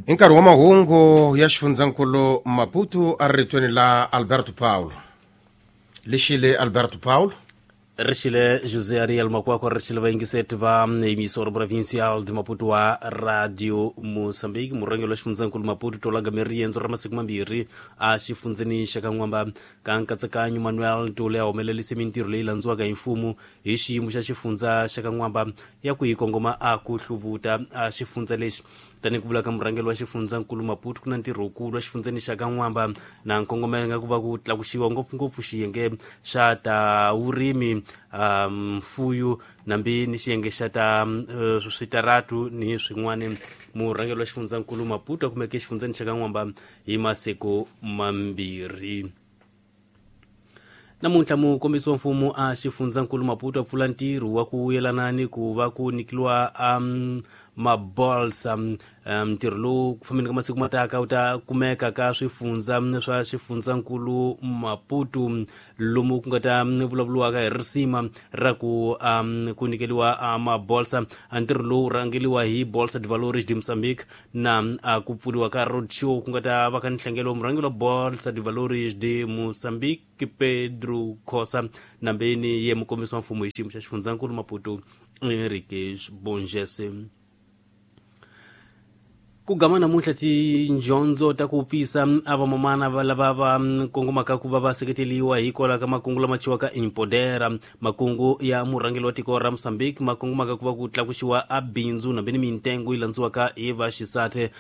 I nkarhi wa mahungu ya xifundzankulu Maputo a ri ritweni la Alberto Paulo. Lixile Alberto Paulo. Rixile José Ariel Makwakwa, rixile vayingiseti va emissora provincial de Maputo wa Radio Moçambique. Murhangeri wa xifundzankulu Maputo tolaga riendzo ra masiku mambirhi a xifundzeni xa ka N'wamba ka nkatsakanyo. Manuel Tole a humelelise mintirho leyi landziwaka hi mfumo hi xiyimo xa xifundza xa ka N'wamba ya ku yi kongoma a ku hluvuta a xifundza lexi. Tanihi ku vula ka murhangeri wa xifundzankulu Maputo, ku na ntirho wukulu wa xifundzeni xa ka N'wamba na nkongomelo nga ku va ku tlakuxiwa ngopfungopfu xiyenge xa ta vurimi, mfuyo nambi ni xiyenge xa ta switaratu ni swin'wana. Murhangeri wa xifundzankulu Maputo a kumeke exifundzeni xa ka N'wamba hi masiku mambirhi. Namuntlha mukombisi wa mfumo a xifundzankulu Maputo a pfula ntirho wa ku yelana ni ku va ku nyikiwa mabolsa. Ntirho lowu ku fambeni ka masiku mataka wu ta kumeka ka swifundza swa xifundzankulu Maputo, lomu ku nga ta vulavuriwaka hi risima ra ku ku nyikeliwa mabolsa. Ntirho lowu rhangeliwa hi Bolsa de Valores de Moçambique na ku pfuriwa ka road show ku nga ta va ka nhlengelo wa murhangeri wa Bolsa de Valores de Moçambique Pedro Khosa nambeni ye mukombisi wa mfumo hi xiyimo xa xifundzankulu Maputo Henrique Bongese. Ku gama namuntlha tindyondzo ta ku pfisa a vamamana lava va kongomaka ku va va seketeliwa hikwalaho ka makungu lama chiwaka Empodera, makungu ya murhangeri wa tiko ra Mozambique ma kongomaka ku va ku tlakuxiwa a bindzu nambe ni mintengo yi landziwaka hi vaxisati.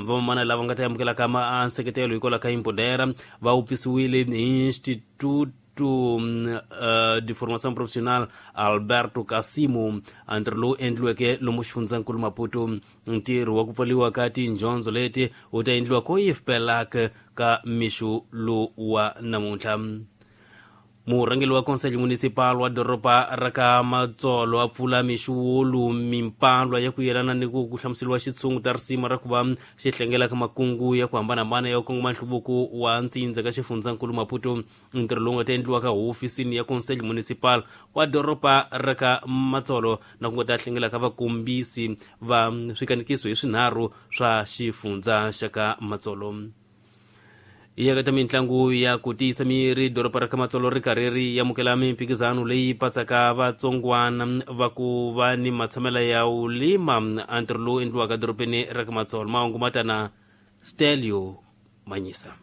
Vamamana lava nga ta amukelaka nseketelo hikwalaho ka Empodera va wupfisiwile hi Instituto de Formação Profissional Alberto Casimo, ntirho lowu endliweke lomu xifundzankulu Maputo. Ntirho wa ku pfaliwa ka tindyondzo leti wu ta endliwa ko IFPELAC ka mixo lowu wa namuntlha. Murhangeri wa Conselho Municipal wa doroba ra ka Matsolo a pfula mixo wolu mimpalwa ya ku yelana ni ku hlamuseriwa xitshungu ta risima ra ku va xi hlengela ka makungu ya ku hambanahambana ya ku kongoma nhluvuko wa ntsindza ka xifundzankulu Maputo. Ntirho lowu nga ta endliwa ka hofisini ya Conselho Municipal wa doroba ra ka Matsolo na ku nga ta hlengela ka vakombisi va swikanekiso hi swinharhu swa xifundza xa ka Matsolo. Ya ka mitlangu ya ku tiyisa miri, doroba ra ka Matsolo ri karhi ri amukela mimphikizano leyi patsaka vatsongwana va ku va ni matshamela ya ulima, ntirho lowu endliwaka dorobeni ra ka Matsolo. Mahungu matana Stelio Manyisa.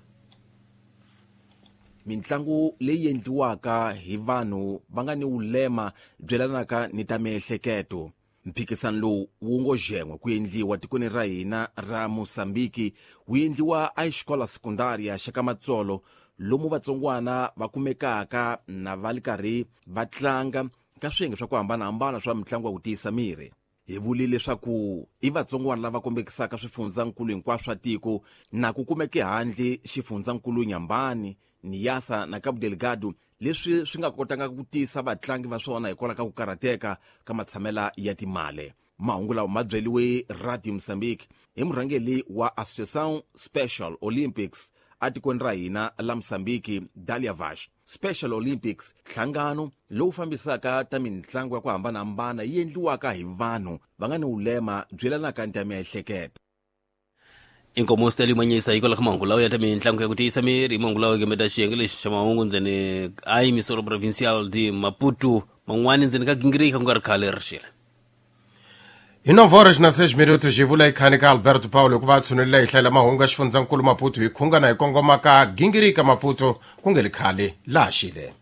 Mintlangu leyi endliwaka hi vanhu va nga ni vulema byi yelanaka ni ta miehleketo. Mphikizano lowu wu ngo jen'we ku endliwa tikweni ra hina ra Mosambiki, wu endliwa a xikola sekundaria xa ka Matsolo, lomu vatsongwana va kumekaka na va li karhi va tlanga ka swiyenge swa ku hambanahambana swa mitlangu ya ku tiyisa miri. Hi vule leswaku i vatsongwana lava kombekisaka swifundzankulu hinkwaswo swa tiko, na ku kumeke handle xifundzankulu Nyambani, Niassa na Cabo Delgado, leswi swi nga kotanga ku tisa vatlangi va swona hikwalaho ka ku karhateka ka matshamela ya timali. Mahungu lawa ma byeliwe Radio Mozambique hi murhangeri wa Associação Special Olympics atikweni ra hina la Mozambique, Dalia Vash. Special Olympics nhlangano lowu fambisaka ta mitlangu ya ku hambanahambana yi endliwaka hi vanhu va nga ni vulema byi yelanaka ni ta miehleketo. Inkomo Stelio Manyisa hikwalaho ka mahungu lawa ya ta mitlangu ya ku tiyisa miri. Mahungu lawa kemeta xiyenge lexi xa mahungu ndzeni a emisoro provincial de Maputo, man'wani ndzeni ka gingirika ku nga ri khale rixile. Hi 9 na 6 minutos hi vula ikhani ka Alberto Paulo ku va a tshunelela hi hlayela mahungu ya xifundzankulu Maputo hi khungana hi kongoma ka gingirika Maputo ku nge li khale laha xile.